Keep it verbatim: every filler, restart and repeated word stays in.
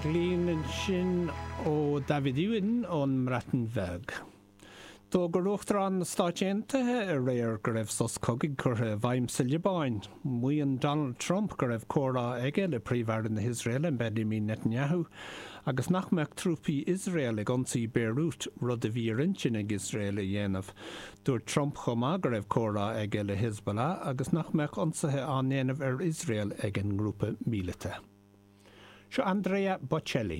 Glin ansin ó David Ewan ón mBreatain Bheag. D'fhógair Uachtarán na Stát Aontaithe aréir go raibh sos cogaidh curtha i bhfeidhm sa Liobáin. Maíonn Donald Trump go raibh comhrá aige le Príomh-Aire na hIosraeile Benjamin Netanyahu agus nach mbeadh trúpaí Iosrael ag ionsaí Beirut rud a bhí ar intinn ag Iosrael a dhéanamh. Dúirt Trump chomh maith go raibh comhrá aige le Hezbollah agus nach mbeadh ionsaithe á ndéanamh ar Iosrael ag an ngrúpa míleata. Seo Andrea Bocelli.